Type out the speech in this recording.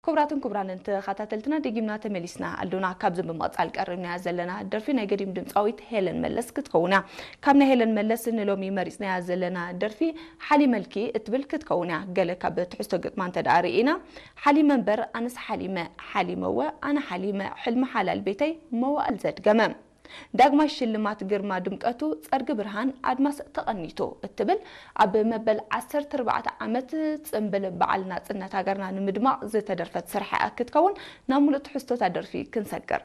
ክቡራትን ክቡራንን ተኸታተልትና፣ ደጊምና ተመሊስና ኣሉና። ካብዚ ብምቕጻል ቀሪብናያ ዘለና ደርፊ ናይ ገዲም ድምጻዊት ሄለን መለስ ክትከውን እያ። ካብ ናይ ሄለን መለስ ንሎሚ መሪጽናያ ዘለና ደርፊ ሓሊመልኪ እትብል ክትከውን እያ። ገለ ካብ ትሕዝቶ ግጥማ እንተ ደኣ ርኢና፣ ሓሊመ እምበር ኣነስ ሓሊመ፣ ሓሊመወ ኣነ ሓሊመ፣ ሕልሚ ሓላል ቤተይ መዋእል ዘድገመ። ዳግማይ ሽልማት ግርማ ድምቀቱ፣ ጸርጊ ብርሃን ኣድማስ ተቐኒቱ እትብል ኣብ መበል ዓሰርተ ኣርባዕተ ዓመት ጽምብል በዓል ናጽነት ሃገርና ንምድማቕ ዝተደርፈት ስራሕ እያ ክትከውን። ናብ ሙሉእ ትሕዝቶታ ደርፊ ክንሰግር።